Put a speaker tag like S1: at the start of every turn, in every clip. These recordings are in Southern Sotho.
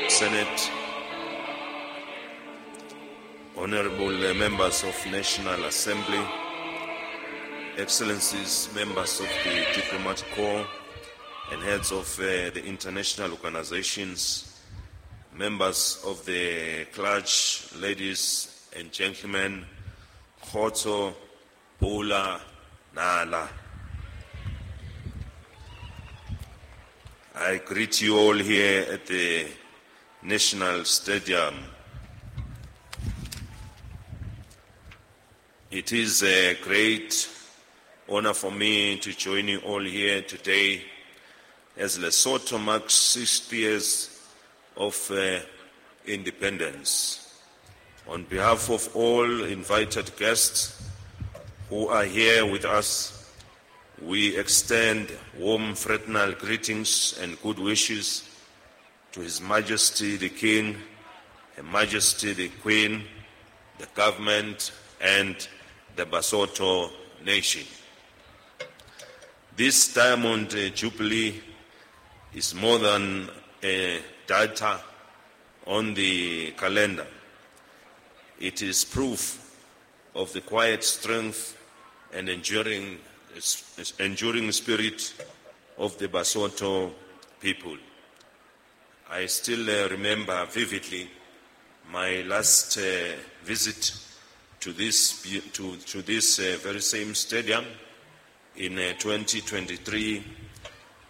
S1: Senate, Honorable Members of National Assembly, Excellencies, members of the Diplomatic Corps and heads of the international organizations, members of the clergy, ladies and gentlemen, Khotso, Pula, Nala. I greet you all here at the National Stadium. It is a great honor for me to join you all here today as Lesotho marks 60 years of independence. On behalf of all invited guests who are here with us, we extend warm fraternal greetings and good wishes to His Majesty the King, Her Majesty the Queen, the government, and the Basotho nation. This Diamond Jubilee is more than a data on the calendar. It is proof of the quiet strength and enduring spirit of the Basotho people. I still remember vividly my last visit to this very same stadium in 2023,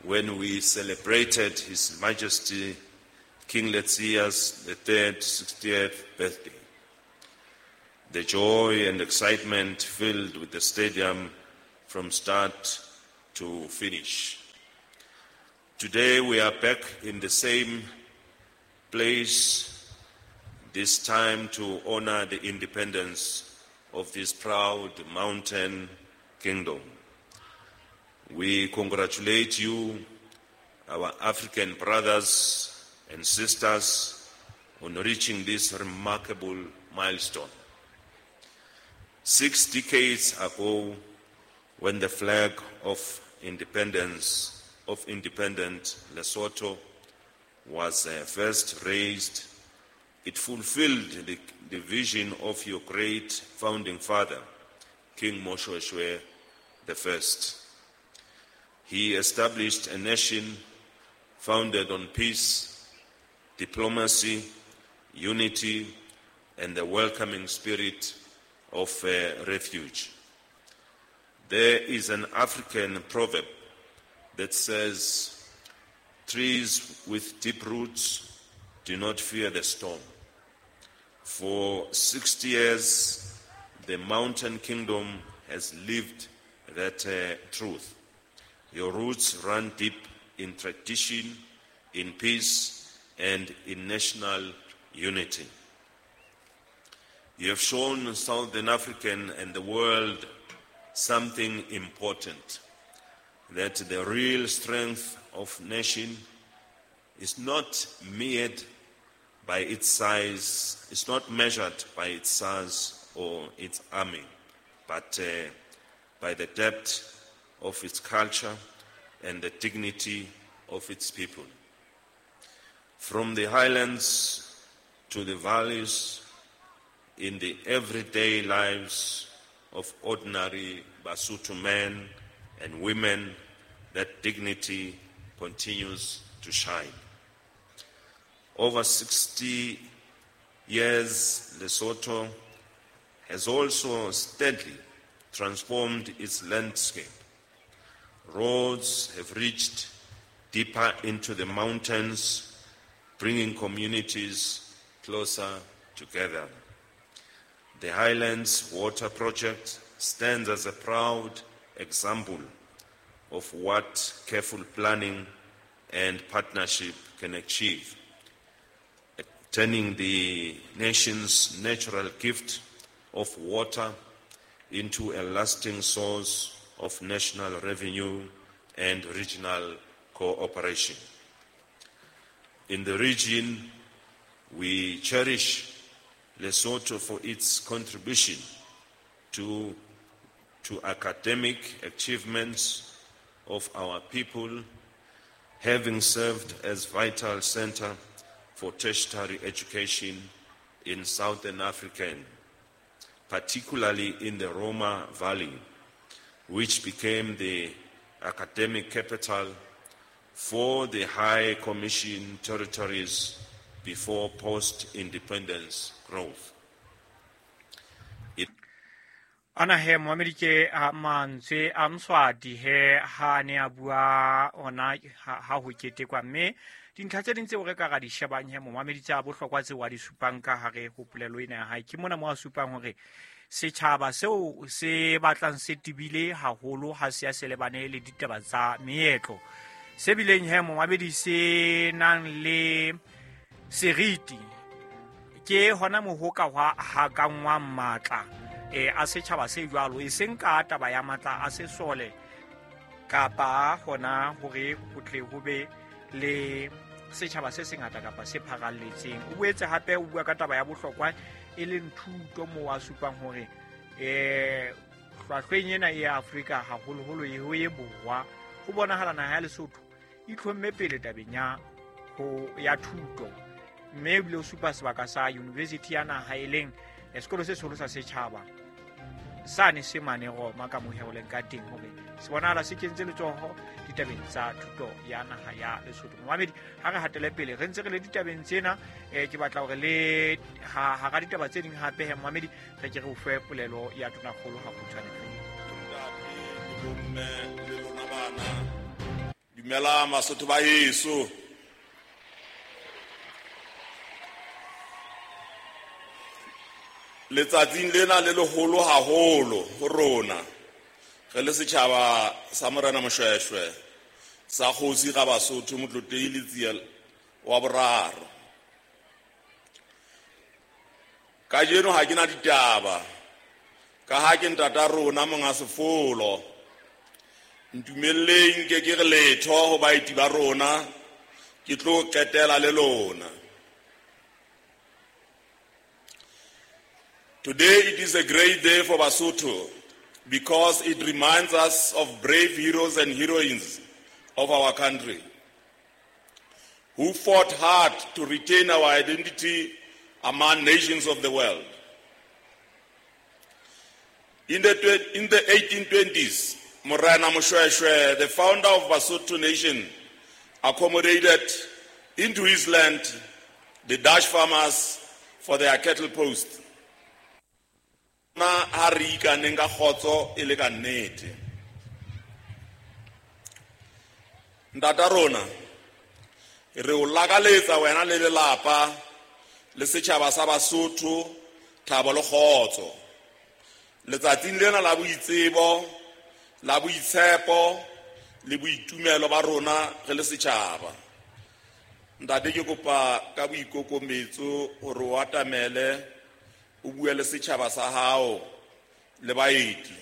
S1: when we celebrated His Majesty King Letsie the Third 60th birthday. The joy and excitement filled with the stadium from start to finish. Today we are back in the same place, this time to honor the independence of this proud mountain kingdom. We congratulate you, our African brothers and sisters, on reaching this remarkable milestone. 6 decades ago, when the flag of independence of independent Lesotho was first raised, it fulfilled the vision of your great founding father, King Moshoeshoe I. He established a nation founded on peace, diplomacy, unity, and the welcoming spirit of refuge. There is an African proverb that says, trees with deep roots do not fear the storm. For 60 years, the mountain kingdom has lived that truth. Your roots run deep in tradition, in peace, and in national unity. You have shown Southern African and the world something important, that the real strength of nation is not measured by its size, it's not measured by its size or its army, but by the depth of its culture and the dignity of its people. From the highlands to the valleys, in the everyday lives of ordinary Basotho men and women, that dignity continues to shine. Over 60 years, Lesotho has also steadily transformed its landscape. Roads have reached deeper into the mountains, bringing communities closer together. The Highlands Water Project stands as a proud example of what careful planning and partnership can achieve, turning the nation's natural gift of water into a lasting source of national revenue and regional cooperation. In the region, we cherish Lesotho for its contribution to academic achievements of our people, having served as vital center for tertiary education in Southern Africa, particularly in the Roma Valley, which became the academic capital for the High Commission territories before post-independence growth.
S2: Ana he momamedi ke a mantswe a Mswati he ha ne a bua ona ha ho ketekwa, mme dintlha tse ding tseo re ka ra di shebang he momamedi tsa bohlokwa tseo a di supang ka hare ho polelo ena ya hae, ke mona mo a supang hore setjhaba seo se batlang se tebile haholo ha se ya se lebane le ditaba tsa meetlo, se bileng he momamedi se nang le seriti, ke hona mo ho ka hwa hakangwang matla a setjhaba se jwalo, e seng ka taba ya matla a sesole kapa hona hore ho tle ho be le setjhaba se sengata kapa se pharalletseng. O boetse hape o bua ka taba ya bohlokwa e leng thuto, moo a supang hore hlwahlweng ena e ya Afrika haholoholo e ho e borwa, ho bonahala naha ya Lesotho e itlhomme pele tabeng ya ho ya thuto, mme ebile o supa sebaka sa university ya naha e leng sekolo se seholo sa setjhaba sane se mane Roma ka moheoleng ka teng, hore se bonahala se kentse letsoho ditabeng tsa thuto ya naha ya Lesotho. Momamedi, ha re hatele pele re ntse re le ditabeng tsena, ke batla hore le hara ditaba tse ding hape he momamedi, re ke re o fe polelo ya tonakgolo ha kgutshwane fela.
S3: Bomme le lona bana, dumela Masotho ba heso. Letsatsing lena le leholo haholo ho rona re le setjhaba sa Morena Moshoeshoe sa kgosi ga Basotho Motlotlehi Letsie wa boraro. Kajeno ha ke na ditaba ka ha ke ntata rona monga sefolo. Ntumelleng ke ke re letho ho baeti ba rona, ke tlo qetela le lona. Today it is a great day for Basotho because it reminds us of brave heroes and heroines of our country who fought hard to retain our identity among nations of the world. In the 1820s, Morena Moshoeshoe, the founder of Basotho Nation, accommodated into his land the Dutch farmers for their cattle post. Na ha re ikaneng ka kgotso e le ka nnete. Ntata rona, re o lakaletsa wena le lelapa le setjhaba sa Basotho thabo le kgotso. Letsatsing lena la boitsebo, la boitshepo le boitumelo ba rona re le setjhaba. Ntate, ke kopa ka boikokometso hore o atamele o bue le setjhaba sa hao le baeti.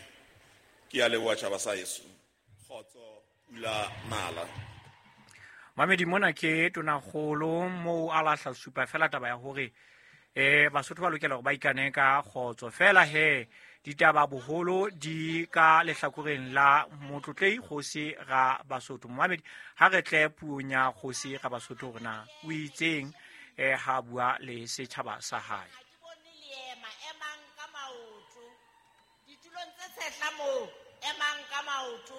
S3: Ke a leboha tjhaba sa heso. Kgotso, pula nala.
S2: Mamedi, mona ke tonakgolo moo a lahla supa fela taba ya hore Basotho ba lokela hore ba ikane ka kgotso. Fela he ditaba boholo di ka lehlakoreng la Motlotlehi Kgosi ra Basotho. Momamedi, ha re tle puong ya Kgosi ra Basotho hore na o itseng ha bua le setjhaba sa hae.
S4: Emang ka maoto. Ditulong tse tshehla moo, emang ka maoto.